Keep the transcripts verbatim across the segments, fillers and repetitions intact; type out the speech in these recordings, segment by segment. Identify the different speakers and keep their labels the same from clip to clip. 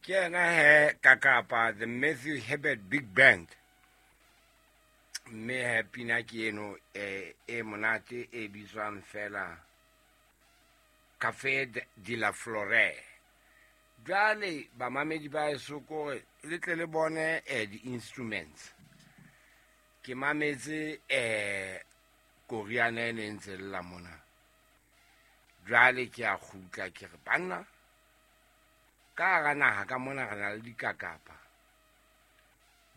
Speaker 1: Ke yena he Kakapa, the Matthew Hibbert Big Band. Mme he pina ke eno e e monate e bitswang fela Café de la Flore. Jwale bamamedi ba eso kore le tle le bone eh, di-instruments. Ke mametse eh koriana e ne ntse lla mona. Jwale ke a kgutla ke re banna ka hara naha ka mona re na le dikakapa.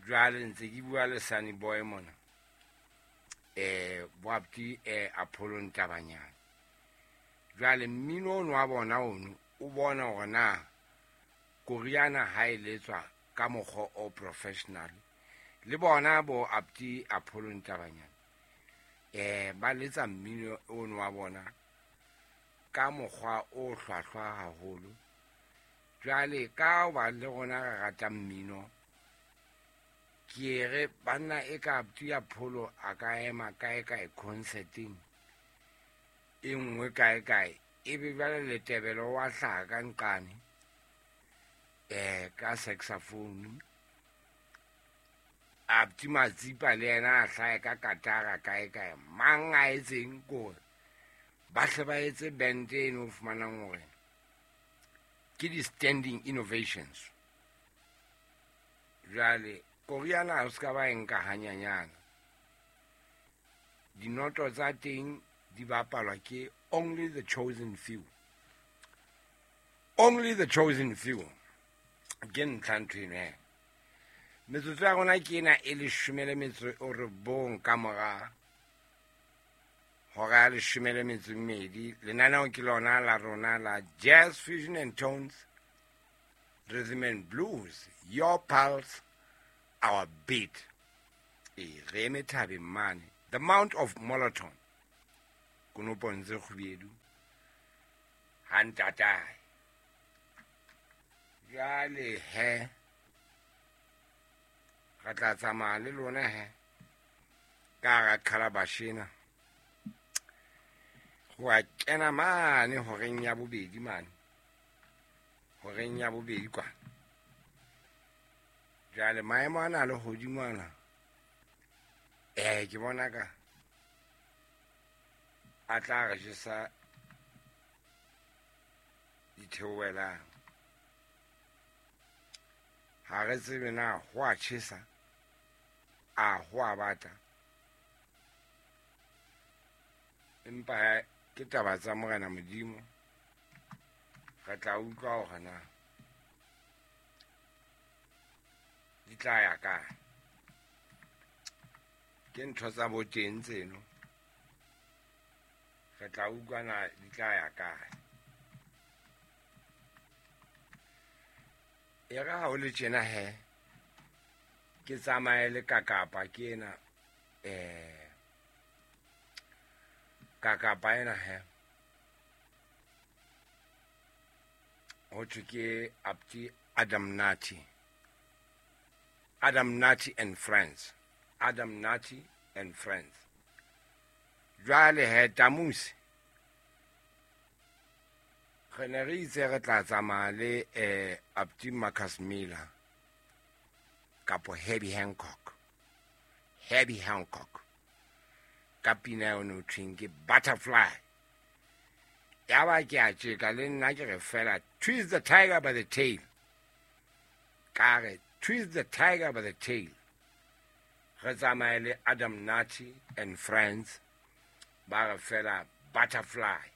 Speaker 1: Jwale ntse ke bua le Sunny Boy mona. Eh boapti eh Apollo Ntabanyana. Jwale mmino ono wa bona ono o bona hore na koriana ha e letswa ka mokgwa o professional. Le bona bo apti Apollo Ntabanyana eh ba letsa mmino ono wa bona ka mokgwa o hlwahlwa haholo. Jwale ka ba le rona re rata mmino, ke re banna e ka apti Apollo a ka ema kae kae concerting e nngwe kae kae, ebe jwale Letebele wa hlaha ka nqane eh ka saxophone, apti Matsipa le yena a hlahe ka katara kae kae. Mang a etseng kore ba hle ba etse band eno o fumanang hore ke di-standing innovations. Jwale koriana ha o ska ba e nka hanyanyana. Dinoto tsa teng di bapalwa ke only the chosen few. Only the chosen few. Ke ntlha ntho eno he. Metsotso ya rona ke ena e leshome le metso e robong ka mora hora ya leshome le metso e mmedi. Lenaneo ke lona la rona la Jazz Fusion and Tones, Rhythm and Blues, Your Pulse, Our Beat. E re eme thabeng mane, the Mount of Moloton, konopong tse kgubedu ha ntatae. Jwale he re tla tsamaya le lona he ka hara calabash ena ho a kena mane horeng ya bobedi mane, horeng ya bobedi kwana. Jwale maemo ana a lehodimo ana eh ke bona ka a tla re jesa ditheohelang. Ha re tsebe na ho a tjhesa a ho a bata, empa ke taba tsa Morena Modimo. Re tla utlwa hore na di tla ya kae. Ke ntho tsa boteng tseno, re tla utlwa na di tla ya kae. E re ha o le tjena he, ke tsamaye le kakapa ke ena eh kakapa ena he, ho thwe ke apti Adam Nati, Adam Nati and Friends, Adam Nati and Friends. Jwale he tamusi re ne re itse re tla tsamaya le eh apti Marcus Miller kapo Herbie Hancock, Herbie Hancock ka pina eo no thweng ke Butterfly. Ya ba ke a tjeka le nna ke re fela twist the tiger by the tail, ka re twist the tiger by the tail. Re tsamaye le Adam Nati and Friends ba re fela Butterfly.